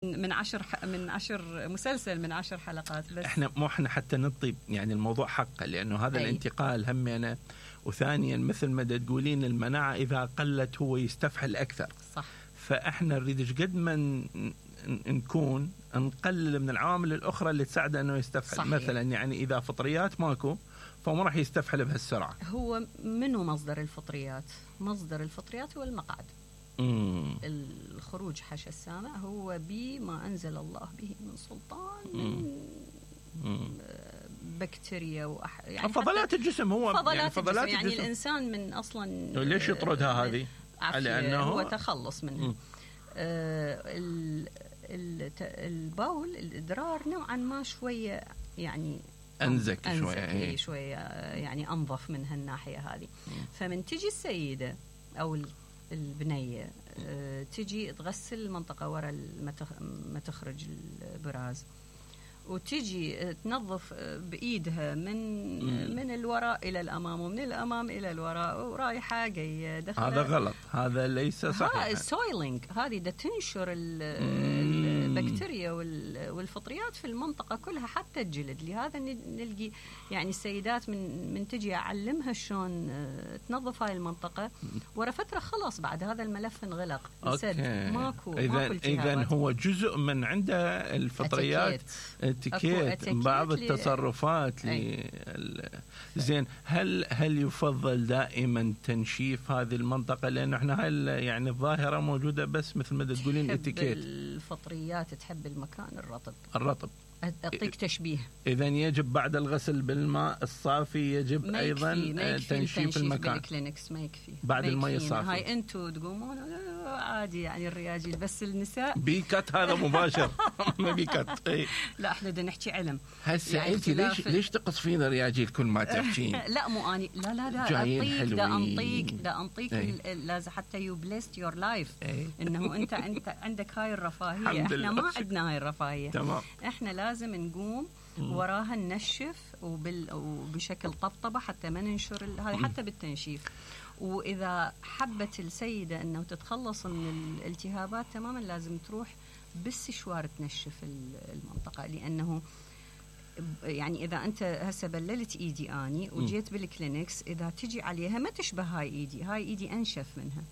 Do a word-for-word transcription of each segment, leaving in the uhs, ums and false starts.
من عشر من عشر مسلسل من عشر حلقات بس. احنا مو احنا حتى نطيب يعني الموضوع حقه، لانه هذا أي. الانتقال همنا، وثانيا مثل ما تقولين المناعه اذا قلت هو يستفحل اكثر. صح. فاحنا نريد ايش قد ما نكون نقلل من العوامل الاخرى اللي تساعده انه يستفحل. صحيح. مثلا يعني اذا فطريات ماكو فما راح يستفحل بهالسرعه. هو منو مصدر الفطريات؟ مصدر الفطريات هو المقعد. مم. الخروج حش السامع هو بما أنزل الله به من سلطان من مم. بكتيريا وأح... يعني فضلات الجسم هو فضلات, يعني, فضلات الجسم. الجسم. يعني الإنسان من أصلا ليش يطردها هذه؟ على أنه هو تخلص منها. آه البول الإدرار نوعا ما شوية يعني أنزك, أنزك شوية شوية يعني أنظف من هالناحية هذه. فمن تجي السيدة أو البنية أه تجي تغسل المنطقة وراء ما تخرج البراز، وتجي تنظف بإيدها من مم. من الوراء إلى الأمام ومن الأمام إلى الوراء ورايحة جاية دخلة. هذا غلط، هذا ليس صحيح. هذا السويلينج، هذه ده تنشر البكتيريا والفطريات في المنطقة كلها حتى الجلد. لهذا نلقي يعني السيدات من من تجي أعلمها شلون تنظف هاي المنطقة، ورا فترة خلاص بعد هذا الملف انغلق سد ماكو إذا إذا هو جزء من عنده الفطريات اتيكيت بعض التصرفات لي... زين. هل هل يفضل دائما تنشيف هذه المنطقة؟ لأنه احنا هاي يعني الظاهرة موجودة بس مثل ما تقولين اتيكيت. الفطريات تحب المكان الرطب. الرطب. أعطيك تشبيه. إذا يجب بعد الغسل بالماء الصافي يجب أيضا تنشيف المكان. بالكلينكس ما يكفي بعد الماء الصافي. هاي أنتوا تقومون عادي يعني الرياجيل، بس النساء بيكت هذا مباشر. ما بيكت. اي لا احنا بدنا نحكي علم. هسه يعني انت ليش ليش تقص فينا رياجيل كل ما تحكين؟ لا مو اني لا لا لا اعطيك دا انطيك دا انطيك لازم حتى يو بليست يور لايف انه انت انت عندك هاي الرفاهيه، احنا ما عندنا هاي الرفاهيه. تمام. احنا لازم نقوم وراها ننشف وبال وبشكل طبطبه حتى ما ننشر هذه حتى بالتنشيف. وإذا حبت السيدة أنه تتخلص من الالتهابات تماما لازم تروح بالسشوار تنشف المنطقة، لأنه يعني إذا أنت هسه بللت إيدي آني وجيت بالكلينكس إذا تجي عليها ما تشبه هاي إيدي، هاي إيدي أنشف منها.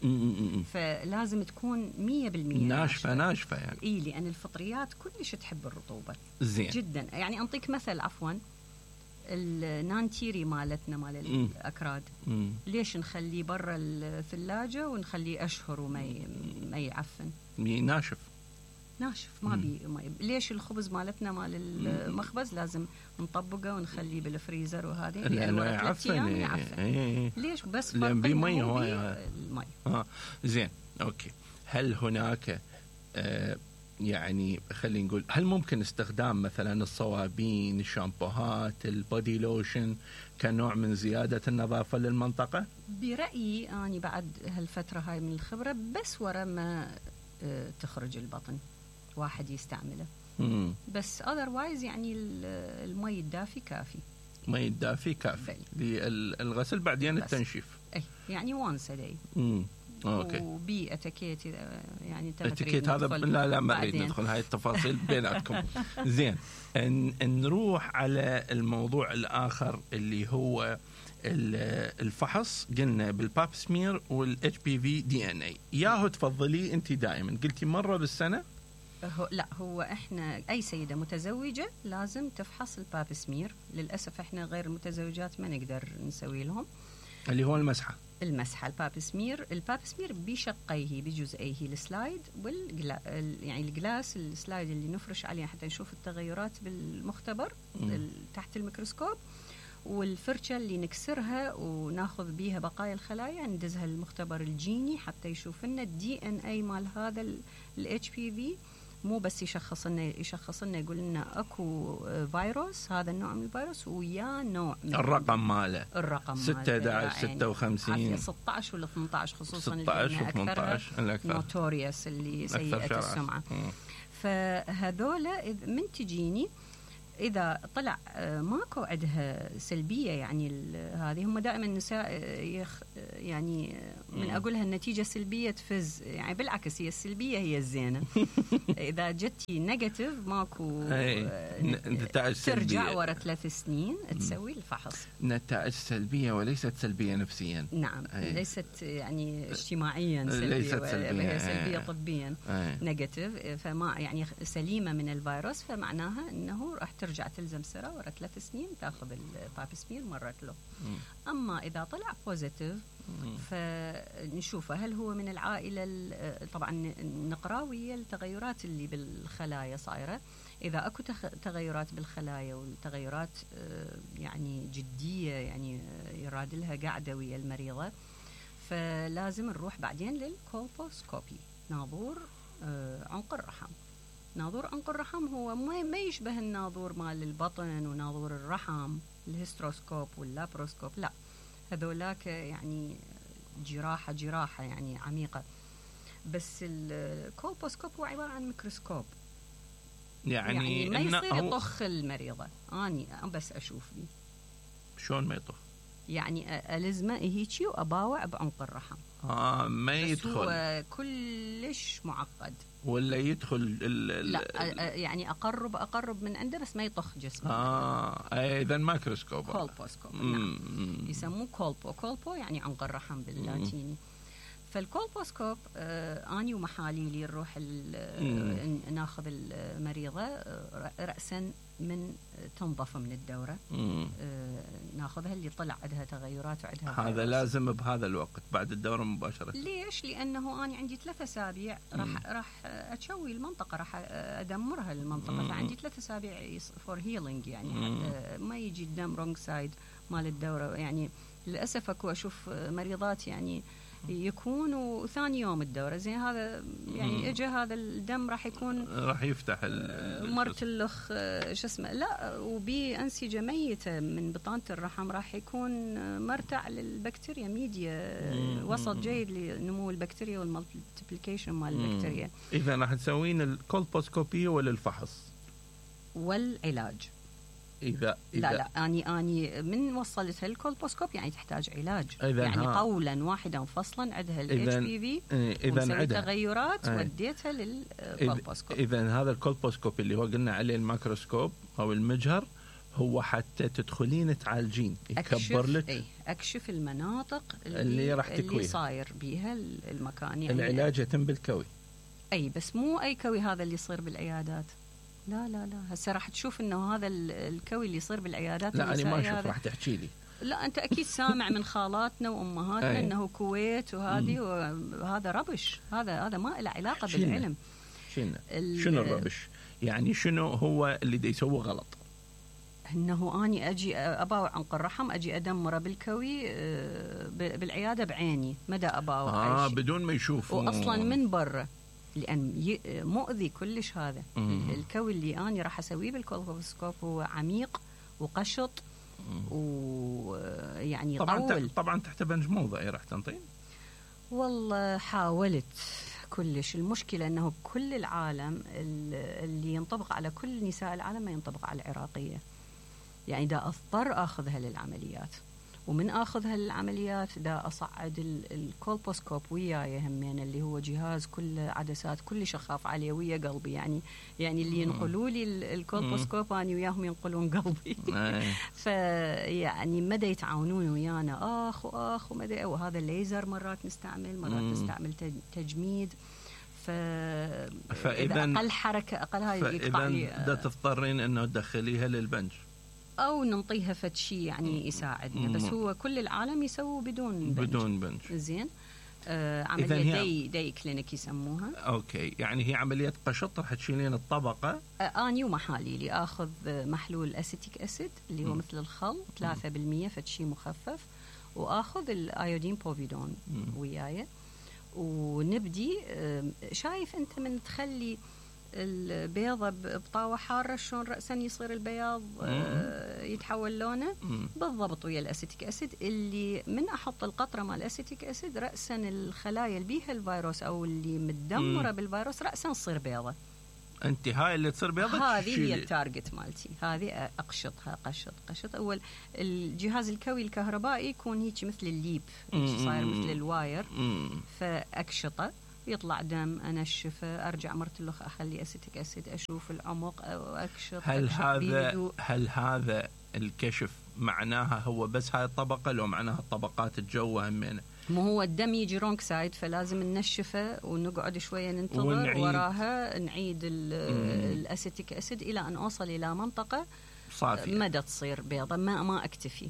فلازم تكون مية بالمية ناشفة ناشفة يعني. إيه لأن الفطريات كلش تحب الرطوبة. زين. جدا. يعني أنطيك مثل عفوا النانتيري مالتنا مال الأكراد مم. ليش نخليه برا الثلاجة ونخليه أشهر وما ما يعفن؟ ناشف ناشف ما بي ما ليش الخبز مالتنا مال المخبز لازم نطبقه ونخليه بالفريزر وهذه لأنه يعفن. يعفن. إيه. ليش بس لأن بيه مي هو المي. آه. زين أوكي. هل هناك آه يعني خلينا نقول هل ممكن استخدام مثلا الصوابين، الشامبوهات، البودي لوشن كنوع من زيادة النظافة للمنطقة؟ برأيي أنا بعد هالفترة هاي من الخبرة بس ورا ما تخرج البطن واحد يستعمله. مم. بس otherwise يعني المي الدافي كافي. مي الدافي كافي للغسل بعدين التنشيف. أي يعني once a day. مم. اوكي. وبي اتيكيت يعني اتيكيت هذا لا لا ما نريد ندخل هاي التفاصيل بيناتكم. زين. ان نروح على الموضوع الاخر اللي هو الفحص. قلنا بالباب سمير والاتش بي في دي ان اي. ياهو تفضلي انت دائما قلتي مره بالسنه؟ هو لا هو احنا اي سيده متزوجه لازم تفحص الباب سمير. للاسف احنا غير المتزوجات ما نقدر نسوي لهم اللي هو المسحه. المسحة الباب سمير. الباب سمير بشقيه بجزئيه السلايد والجلا يعني الجلاس السلايد اللي نفرش عليه حتى نشوف التغيرات بالمختبر تحت الميكروسكوب، والفرشة اللي نكسرها وناخذ بيها بقايا الخلايا ندزها للمختبر الجيني حتى يشوف لنا الدي ان اي مال هذا الاتش بي في. مو بس يشخص لنا يشخص لنا يقول لنا اكو فيروس هذا النوع من الفيروس ويا نوع من الرقم ماله الرقم ستة عشر ستة وخمسين ستة عشر ولا ثمانية عشر خصوصا ستة عشر وثمانية عشر الأكثر نوتوريوس اللي سيئة السمعة. فهذولا من تجيني إذا طلع ماكو عندها سلبية، يعني هذه هم دائما النساء يخ يعني من أقولها النتيجة سلبية تفز، يعني بالعكس هي السلبية هي الزينة. إذا جتي نيجاتيف ماكو نتائج سلبية، ترجع ورا ثلاث سنين تسوي الفحص. نتائج سلبية وليست سلبية نفسيا. نعم. أي. ليست يعني اجتماعيا سلبية، ليست سلبية، هي سلبية طبيا نيجاتيف، فما يعني سليمة من الفيروس، فمعناها أنه راح ترجع تلزم سرة ورا ثلاث سنين تاخذ الباب سمير مرت له. م. أما إذا طلع بوزيتيف فنشوفه هل هو من العائلة، طبعا نقرأ ويا التغيرات اللي بالخلايا صايرة. إذا أكو تغيرات بالخلايا والتغيرات يعني جدية، يعني يراد لها قاعدة ويا المريضة، فلازم نروح بعدين للكولبوسكوبي، ناظور عنق الرحم. ناظور عنق الرحم هو ما يشبه الناظور مال البطن وناظور الرحم الهيستروسكوب واللابروسكوب، لا هذولاك يعني جراحة جراحة يعني عميقة. بس الكولبوسكوب هو عبارة عن ميكروسكوب، يعني, يعني ما يصير يطخ المريضة، أني بس أشوف بي. شلون ما يطخ؟ يعني ألزمه هيجي وأباوع بعمق الرحم. آه ما يدخل. هو كلش معقد. ولا يدخل ال ال لا يعني أقرب أقرب من عنده بس ما يطخ جسمه. آه إذا ماكروسكوب. كولبوسكوب. نعم. يسموه كولبو. كولبو يعني عنق الرحم باللاتيني. فالكولبوسكوب آه أني ومحاليلي نروح ناخذ المريضة آه رأسا من تنظف من الدورة، آه ناخذها اللي طلع عندها تغيرات وعندها هذا فيروس. لازم بهذا الوقت بعد الدورة مباشرة. ليش؟ لأنه أنا عندي ثلاثة أسابيع راح راح أتشوي المنطقة، راح أدمرها المنطقة، مم. فعندي ثلاثة أسابيع فور هيلينج، يعني حتى ما يجي الدم رونج سايد مال الدورة. يعني للأسف أكو أشوف مريضات يعني يكون ثاني يوم الدورة زين، هذا يعني اجى هذا الدم راح يكون راح يفتح مرتلخ شو اسمه، لا وبي أنسجة ميتة من بطانة الرحم، راح يكون مرتع للبكتيريا ميديا، وسط جيد لنمو البكتيريا والمالتيبليكيشن مال البكتيريا. إذا راح تسوين الكولبوسكوبية ولا الفحص والعلاج؟ إذا, إذا لا لا أني أني من وصلتها الكولبوسكوب يعني تحتاج علاج، يعني ها. قولا واحدا فصلا عندها ال إتش بي في، إذا عندها تغيرات ايه. وديتها للكولبوسكوب. إذا هذا الكولبوسكوب اللي هو قلنا عليه الميكروسكوب أو المجهر هو حتى تدخلين تعالجين، يكبر لك ايه أكشف المناطق اللي, اللي راح تكوي اللي صاير بيها المكان. يعني العلاج يتم بالكوي، أي بس مو أي كوي هذا اللي يصير بالعيادات، لا لا لا هسه راح تشوف انه هذا الكوي اللي يصير بالعيادات. لا انا ما اشوف، راح تحكي لي. لا انت اكيد سامع من خالاتنا وامهاتنا انه كويت وهذه، وهذا ربش، هذا هذا ما له علاقه شنو بالعلم. شنو شنو الربش؟ يعني شنو هو اللي دا يسوي غلط؟ انه اني اجي اباوع عنق الرحم، اجي ادمره بالكوي بالعياده بعيني، مدى اباوع اه بدون ما يشوفوا، واصلا من برا، لأن مؤذي كلش هذا. مم. الكوي اللي أنا راح أسويه بالكولبوسكوب هو عميق وقشط ويعني طبعا طول. طبعا تحت بنج موضعي راح تنطين. والله حاولت كلش، المشكلة أنه كل العالم اللي ينطبق على كل نساء العالم ما ينطبق على العراقية، يعني دا أضطر أخذها للعمليات، ومن أخذها للعمليات دا أصعد الكولبوسكوب وياي همين، اللي هو جهاز كل عدسات كل شخاف عليه ويا قلبي، يعني يعني اللي ينقلوا لي الكولبوسكوب أنا وياهم ينقلون قلبي. فيعني مدى يتعاونون ويانا آخ وآخ ومدى، وهذا الليزر مرات نستعمل، مرات نستعمل تجميد، فإذا أقل حركة أقل هاي يقطع لي. دا تضطرين إنه تدخليها للبنج أو ننطيها فد شيء يعني يساعدنا، بس هو كل العالم يسووا بدون بنج. بدون بنج زين. آه عملية دي دي كلينيك يسموها. أوكي، يعني هي عملية قشط، راح تشيلين الطبقة. آه أني ومحاليلي آخذ محلول أسيتيك أسيد اللي هو م. مثل الخل ثلاثة بالمية فد شيء مخفف، وآخذ الأيودين بوفيدون وياي، ونبدي آه شايف أنت من تخلي البيضة بطاوة حارة شلون رأسا يصير البياض آه يتحول لونه بالضبط ويا الأسيتيك أسيد، اللي من أحط القطرة مال الأسيتيك أسيد رأسا الخلايا اللي بيها الفيروس أو اللي متدمرة بالفيروس رأسا تصير بيضة. انت هاي اللي تصير بيضة هذه هي التارجت مالتي، هذه اقشطها قشط قشط. اول الجهاز الكوي الكهربائي يكون هيك مثل الليب، صاير مثل الواير، فاقشطه يطلع دم، انشفه، ارجع مرتلخ، اخلي اسيتيك اسيد، اشوف العمق او اكشط. هل هذا هل هذا الكشف معناها هو بس هاي الطبقه لو معناها طبقات الجو همينه؟ مو هو الدم يجي رونج سايد، فلازم ننشفه ونقعد شويه ننتظر ونعيد. وراها نعيد الاسيتيك اسيد الى ان اوصل الى منطقه صافيه مدى تصير بيضه. ما ما اكتفي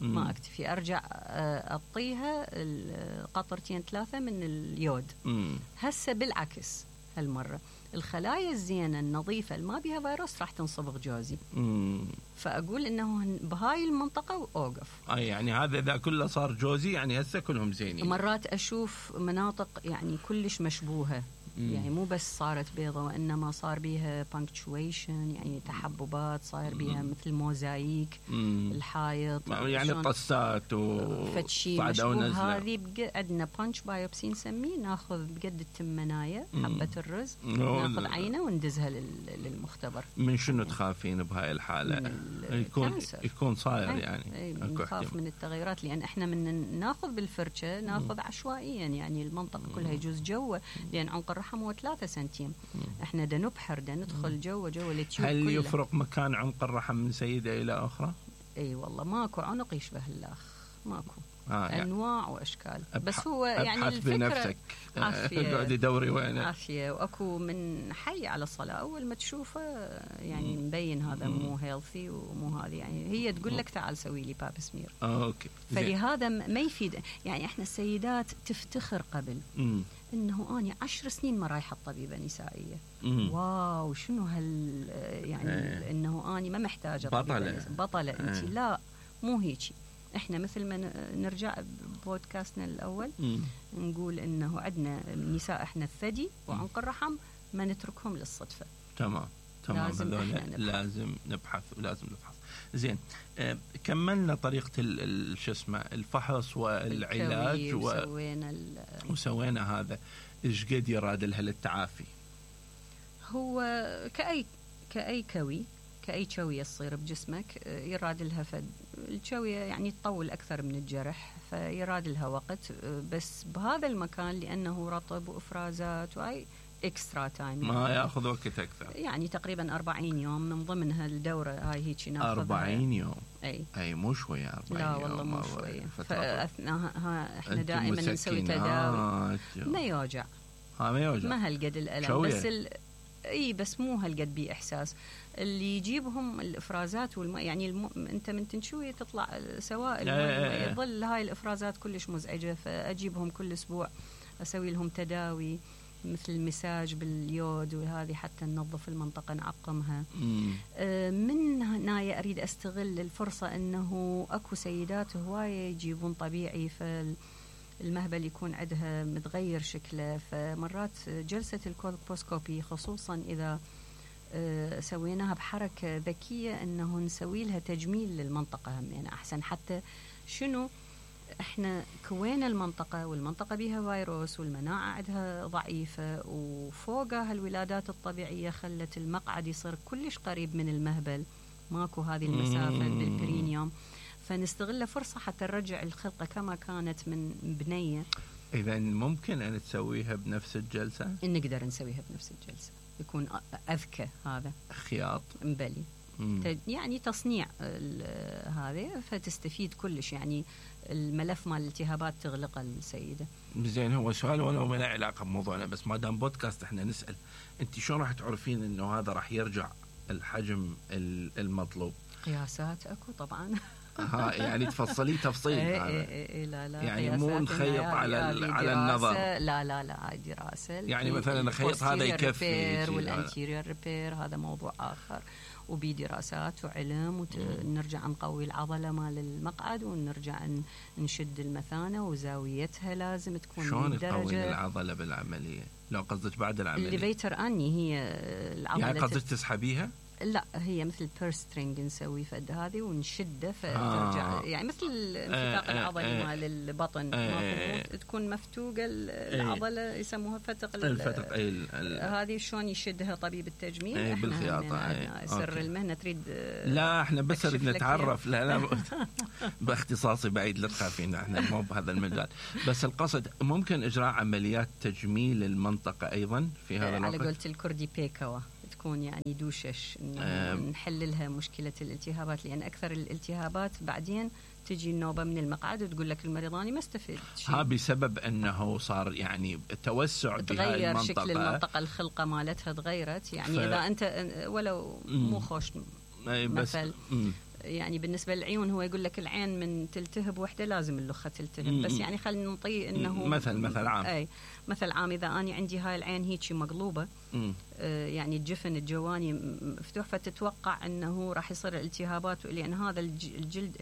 مم. ما اكتفي ارجع اعطيها قطرتين ثلاثه من اليود. هسه بالعكس هالمره الخلايا الزينه النظيفه اللي ما بها فيروس راح تنصبغ جوزي. مم. فاقول انه بهاي المنطقه واوقف. اي يعني هذا اذا كله صار جوزي يعني هسه كلهم زينين. مرات اشوف مناطق يعني كلش مشبوهه، مم. يعني مو بس صارت بيضة وإنما صار بيها punctuation، يعني تحببات، صاير بيها مثل موزايك. مم. الحائط يعني قصات وفتشي مشبوه. هذه عندنا بانش بايوبسي نسميه، ناخذ بقد التمناية حبة الرز، ناخذ عينة وندزها للمختبر. من شنو تخافين بهاي الحالة؟ يكون يكون صاير يعني نخاف من التغيرات، لأن احنا من ناخذ بالفرشة ناخذ عشوائيا، يعني المنطقة كلها يجوز جوه، لأن عنق الرحم هو ثلاثة سنتيم. احنا دا نبحر دا ندخل جوا جوا التيوب. هل كله. يفرق مكان عنق الرحم من سيدة إلى أخرى؟ اي والله ماكو عنق يشبه الأخ، ماكو. آه يعني انواع واشكال، بس هو يعني الفكره بنفسك قاعد دوري وين عافيه. واكو من حي على الصلاه اول ما تشوفه يعني مبين هذا مو هيلثي ومو هذه، يعني هي تقول لك تعال سوي لي باب سمير. اه اوكي. فلهذا ما يفيد، يعني احنا السيدات تفتخر قبل مم. انه اني عشر سنين ما رايحه طبيبه نسائيه. مم. واو شنو هال يعني ايه. انه اني ما محتاجه بطله بطله انت ايه. لا مو هيجي. احنا مثل ما نرجع بودكاستنا الاول مم. نقول انه عندنا نساء احنا الثدي وعنق الرحم ما نتركهم للصدفه. تمام تمام. لازم نبحث. لازم نبحث ولازم نفحص. زين آه كملنا طريقه شو اسمه الفحص والعلاج و... وسوينا ال... وسوينا هذا. ايش قد يراد لها للتعافي؟ هو كاي كاي كوي كأي شوية تصير بجسمك يراد لها فد الشوية يعني تطول أكثر من الجرح، فيراد لها وقت، بس بهذا المكان لأنه رطب وإفرازات وأي إكسترا تايم ما يأخذ وقت أكثر، يعني تقريبا أربعين يوم من ضمنها الدورة هاي هيك ناخذها. أربعين يوم أي أي مو شوية أربعين لا يوم. والله مو شوية. فأثناءها إحنا دائما نسوي تداوي. آه ما يوجع ها ما يوجع ما هالقد الألم شوية. بس ال... اي بس مو هالقد بي احساس اللي يجيبهم الافرازات والماء، يعني الم... انت من تنشوي تطلع سوائل يظل هاي الافرازات كلش مزعجه، فاجيبهم كل اسبوع اسوي لهم تداوي مثل المساج باليود وهذه حتى ننظف المنطقه نعقمها. آه من هنا اريد استغل الفرصه انه اكو سيدات هوايه يجيبون طبيعي، فال المهبل يكون عندها متغير شكله، فمرات جلسة الكولبوسكوبي خصوصا إذا سويناها بحركة ذكية أنه نسوي لها تجميل للمنطقة هم يعني أحسن. حتى شنو إحنا كوينا المنطقة والمنطقة بها فيروس والمناعة عندها ضعيفة، وفوقها الولادات الطبيعية خلت المقعد يصير كلش قريب من المهبل، ماكو هذه المسافة بالبرينيوم، فنستغل فرصة حتى نرجع الخلقة كما كانت من بنية. إذا ممكن أن تسويها بنفس الجلسة؟ نقدر نسويها بنفس الجلسة، يكون أذكى هذا خياط مبلي يعني تصنيع هذا، فتستفيد كلش، يعني الملف مال الالتهابات تغلق السيدة. زين هو سؤال ولو ما له علاقة بموضوعنا، بس ما دام بودكاست احنا نسأل، انت شلون راح تعرفين انه هذا راح يرجع الحجم المطلوب؟ قياسات اكو طبعا. ها يعني تفصلي تفصيل. اي اي اي لا لا يعني مو نخيط على على النظر. لا لا لا هاي دراسه، يعني مثلا نخيط هذا يكفي والانتيريور ريبير هذا موضوع اخر، وبدراسات وعلم، ونرجع نقوي العضله مال المقعد ونرجع نشد المثانه وزاويتها لازم تكون شلون نقوي العضله بالعمليه؟ لو قصدك بعد العمليه اللي بيتر اني هي العضله يعني قصدك تسحبيها؟ لا هي مثل بيرسترينج نسوي فد هذه ونشده فترجع آه. يعني مثل الانفتاق آه العضلي آه مال البطن آه تكون مفتوقه العضله يسموها فتق الفتق هذه شلون يشدها طبيب التجميل احنا بالخياطه سر المهنه تريد لا احنا بس نتعرف لا لا باختصاصي بعيد لا تخافين احنا مو بهذا المجال بس القصد ممكن اجراء عمليات تجميل المنطقه ايضا في هذا الوقت على قولة الكردي بيكوا تكون يعني دوشش نحل لها مشكلة الالتهابات لأن أكثر الالتهابات بعدين تجي النوبة من المقعد وتقول لك المريضاني ما استفيد شيء ها بسبب أنه صار يعني توسع بهاي المنطقة شكل المنطقة الخلقة مالتها تغيرت يعني ف... إذا أنت ولو مو خوش مثل يعني بالنسبة للعيون هو يقول لك العين من تلتهب وحدة لازم اللخة تلتهب بس يعني خلينا نطي انه مثل مثل عام اي مثل عام اذا اني عندي هاي العين هيك مقلوبة آه يعني الجفن الجواني مفتوح فتتوقع انه راح يصير التهابات لان هذا الجلد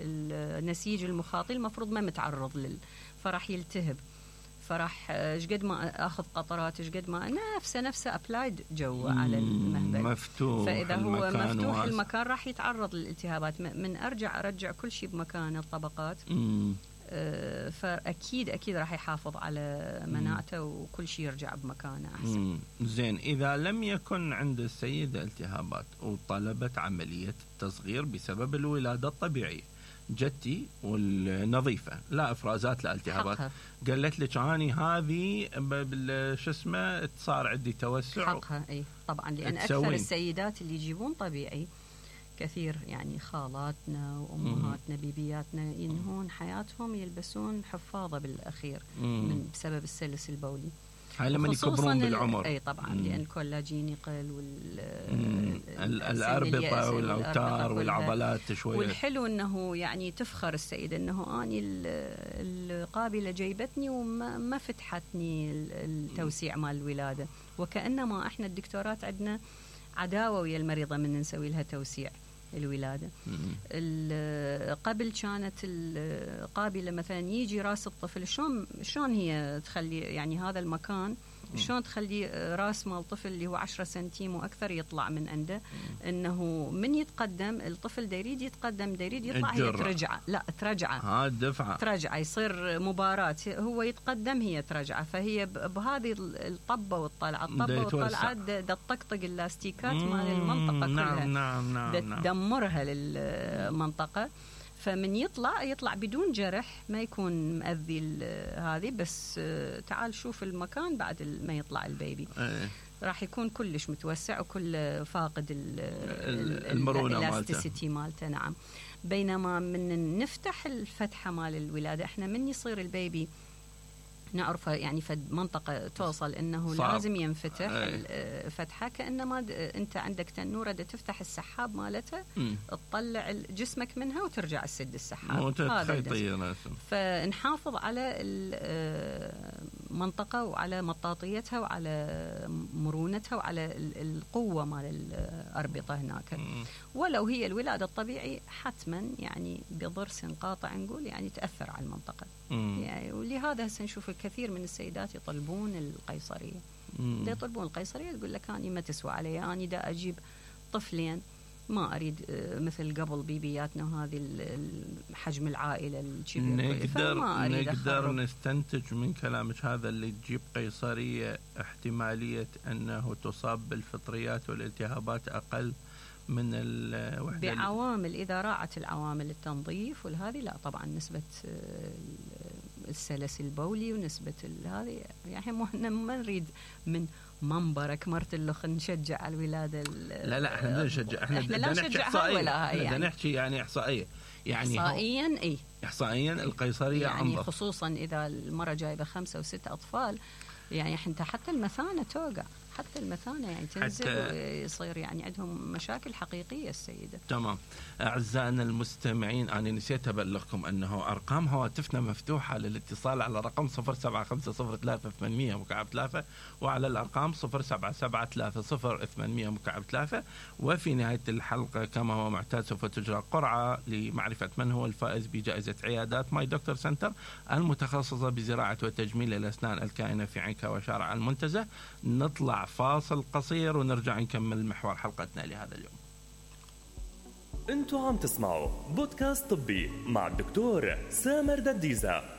النسيج المخاطي المفروض ما متعرض لل فراح يلتهب فراح شقد ما اخذ قطرات شقد ما نفسه نفسه ابلايد جوا على المهبل مفتوح فاذا هو مفتوح واس. المكان راح يتعرض للالتهابات من ارجع ارجع كل شيء بمكانه الطبقات آه فاكيد اكيد راح يحافظ على مناعته وكل شيء يرجع بمكانه احسن. مم. زين اذا لم يكن عند السيده التهابات وطلبت عمليه تصغير بسبب الولاده الطبيعيه جتي والنظيفة لا افرازات لا التهابات قالت لك اني هذه شو اسمه صار عندي توسع حقها اي طبعا لان اكثر السيدات اللي يجيبون طبيعي كثير يعني خالاتنا وامهاتنا بيبياتنا ينهون حياتهم يلبسون حفاضة بالاخير من بسبب السلس البولي هاي لما يكبرون بالعمر اي طبعا مم. لان الكولاجين يقل والاربطه والاوتار والعضلات شويه والحلو انه يعني تفخر السيده انه اني القابله جيبتني وما فتحتني التوسيع مال الولاده وكانما احنا الدكتورات عندنا عداوه ويا المريضه من نسوي لها توسيع الولادة قبل كانت القابلة مثلا يجي راس الطفل شلون شلون هي تخلي يعني هذا المكان شلون تخلي راس مال طفل اللي هو عشرة سنتيم واكثر يطلع من عنده انه من يتقدم الطفل دا يريد يتقدم دا يريد يطلع هي ترجعه لا ترجعه ها الدفعه ترجعه يصير مباراه هو يتقدم هي ترجعه فهي بهذه الطبه والطلعه الطبه والطلعه دا تطقطق اللاستيكات مال المنطقه كلها نعم نعم نعم دا تدمرها للمنطقه فمن يطلع يطلع بدون جرح ما يكون مأذي هذه بس تعال شوف المكان بعد ما يطلع البيبي أيه. راح يكون كلش متوسع وكل فاقد المرونة الالاستيسيتي مالته نعم بينما من نفتح الفتحة مال الولادة احنا من يصير البيبي نعرفه يعني فد منطقة توصل انه صعب. لازم ينفتح أي. فتحة كأنما انت عندك تنورة دا تفتح السحاب مالتها تطلع جسمك منها وترجع تسد السحاب هذا فنحافظ على المنطقة وعلى مطاطيتها وعلى مرونتها وعلى القوة مال الأربطة هناك م. ولو هي الولادة الطبيعي حتما يعني بضرس قاطع نقول يعني تأثر على المنطقة يعني ولهذا هسه نشوف الكثير من السيدات يطلبون القيصرية دا يطلبون القيصرية تقول لك أنا ما تسوى علي أنا دا أجيب طفلين ما أريد مثل قبل بيبياتنا وهذه حجم العائلة الكبير نقدر نقدر نستنتج من كلامك هذا اللي تجيب قيصرية احتمالية أنه تصاب بالفطريات والالتهابات أقل من الوحدة بعوامل إذا راعت العوامل التنظيف والهذه لا طبعا نسبة السلس البولي ونسبة هذه يعني ما نريد من منبرك مرت اللخ نشجع على الولادة لا لا احنا نشجع احنا بدنا نحكي احصائية يعني. بدنا نحكي يعني احصائية يعني احصائيا اي احصائيا القيصرية يعني أنظف. خصوصا اذا المرة جايبة خمسة وست اطفال يعني انت حتى المثانة توقع حتى المثانة يعني تنزل ويصير يعني عندهم مشاكل حقيقية السيدة. تمام. أعزائنا المستمعين أنا نسيت أبلغكم أنه أرقام هواتفنا مفتوحة للاتصال على رقم صفر سبعة خمسة صفر ثلاثة ثمانمية مكعب ثلاثة وعلى الأرقام صفر سبعة سبعة ثلاثة صفر ثمانمية مكعب ثلاثة. وفي نهاية الحلقة كما هو معتاد سوف تجرى قرعة لمعرفة من هو الفائز بجائزة عيادات ماي دكتور سنتر المتخصصة بزراعة وتجميل الأسنان الكائنة في عنكا وشارع المنتزه. نطلع فاصل قصير ونرجع نكمل محور حلقتنا لهذا اليوم. انتوا عم تسمعوا بودكاست طبي مع الدكتور سامر دديزة.